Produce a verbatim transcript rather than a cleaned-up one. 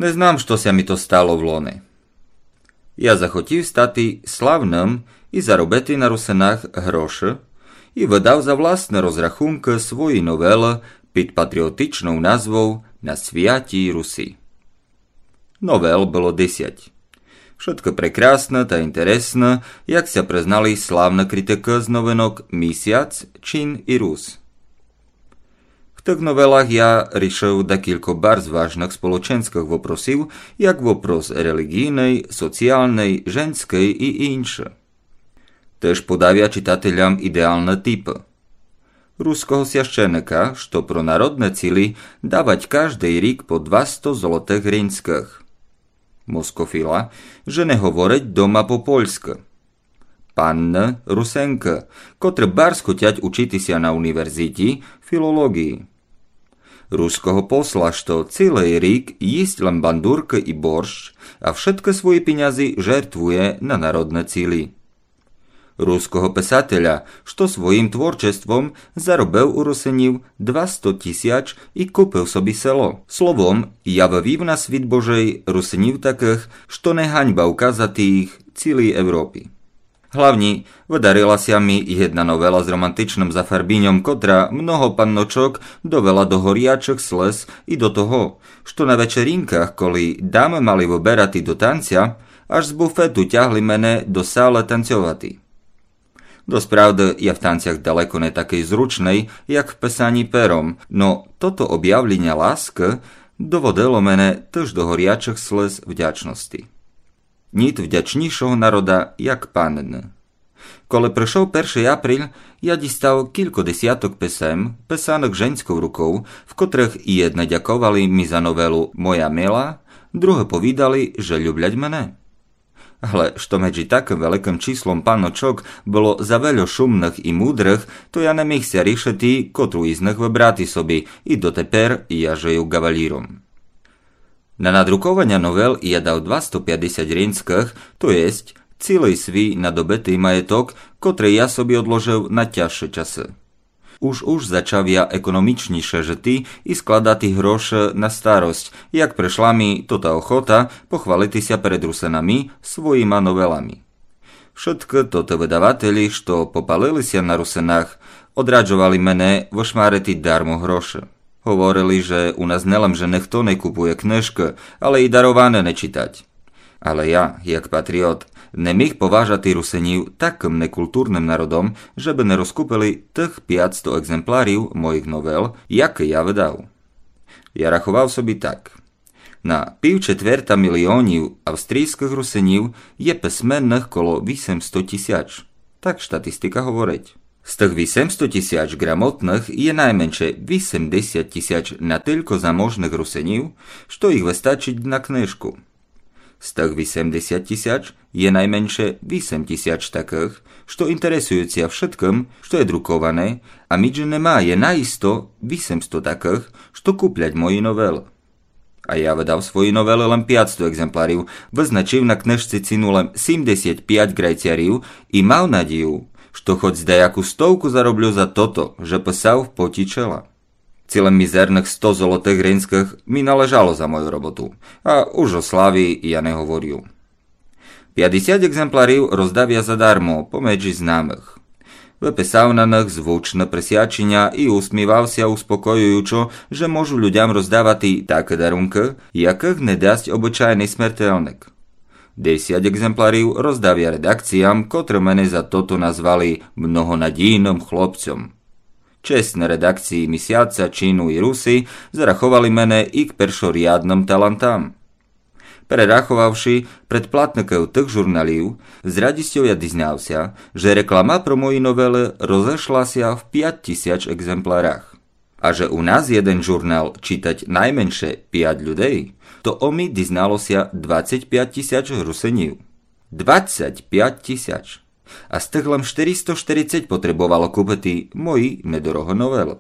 Не знам, што ся ми то стало влони. Я захотів стати славным и заробити на Русинах гроши, и выдав за властны розрахункы свої новелы під патріотичнов назвов На святій Руси. Новел было десять. Вшыткы прекрасны та інтересны, як ся признали славны критикы з новинок Місяц, Чин и Рус. В тых новелах я рішыв декілько барз важных сполоченьскых вопросів, як вопрос реліґійный, соціалный, женьскый и инше. Тыж подав я читателям ідеалны типы. Руского священика, што про народны цілі давать каждый рік по двасто золотых гриньскых. Москофіла, же не говорить дома по польскы. Панны Русенкы, котры барз хотять учити ся на універзіті філолоґії. Руского посла, што цілый рік їсть лем бандуркы и борщ, а вшыткы свої пінязі жертвує на народны цілі. Руского писателя, што своїм творчеством заробив у Русинів двасто тісяч и купив собі село. Словом, я вывів на світ Божый Русинів такых, што не ганьба указати їх цілій Европі. Главні, выдарила ся ми єдна новела з романтичным зафарбіньом, котра много панночок довела до горячых слыз и до того, што на вечеринках, коли дамы мали выберати до танця, аж з буфету тягли мене до салы танцьовати. Досправды, я в танцях далеко не такый зручный, як в писані пером, но тото обявліня ласкы доводило мене тыж до горячых слыз вдячности. Ніт вдячнійшого народа, як панны. Коли пришов першый апріль, я дістав кілько десяток писем, писаных женьсков руков, в котрых єдны дяковали ми за новелу Моя мила, другы повідали, же люблять мене. Але што меджі такым великым числом панночок было завельо шумных и мудрых, то я не міг ся рішити, котру из них выбрати собі, и дотепер я жыю ґаваліром. На надрукованя новел я дав двасто пятдесят гриньскых, то єсть цілый свій надобитый маєток, котрый я собі одложыв на тяжшы часы. Уж-уж зачав я економічніше жыти и складати гроши на старость, як пришла ми тота охота похвалити ся перед Русинами своїма новелами. Вшыткы тоты выдавателі, што попалили ся на Русинах, одраджовали мене вышмарити дармо гроши. Говорили, же у нас не лем же нихто не купує книжкы, але и дароване не читать. Але я, як патріот, не міг поважати Русинів такым некултурным народом, же бы не розкупили тых пятсто екземплярів моїх новел, якы я выдав. Я раховав собі так. На пів четверта міліонів австрійскых Русинів є писменных коло вісемсто тісяч. Так штатистика говорить. З тых вісемсто тісяч грамотных є найменше вісемдесят тісяч натілько заможных Русинів, што їх выстачить на книжку. З тых вісемдесят тісяч є найменше вісем тісяч такых, што інтересують ся вшыткым, што є друковане, а міджи ними є наісто вісемсто такых, што куплять мої новелы. А я выдав свої новелы лем пятсто екземплярів, вызначив на книжці ціну лем сімдесят пять грайцярів и мав надію, што хоц даяку стовку зароблю за тото, же писав в поті чела. Ци лем мізерных сто золотых гриньскых ми належало за мою роботу, а уж о славі я не говорю. Пятдесят екземплярів роздав я задармо помеджі знамых. Выписав на них звучне присвяченя и усмівав ся успокоюючо, же можу людям роздавати такы дарункы, якых не дасть обычайный смертельник. Десять екземплярів роздав я редакціям, котры мене за тото назвали многонадійным хлопцьом. Чесны редакції Місяця, Чину и Руси зараховали мене и к першорядным талантам. Перераховавши предплатників тых журналів, з радістю я дізнав ся, же реклама про мої новелы розешла ся в пять тісяч екземплярах. А же у нас єден журнал читать найменше пять людей, то о ми дізнало ся двадцять пять тісяч Русинів. Двадцять пять тісяч! А з тых лем штыристо штерицять потребовало купити мої недорогы новелы.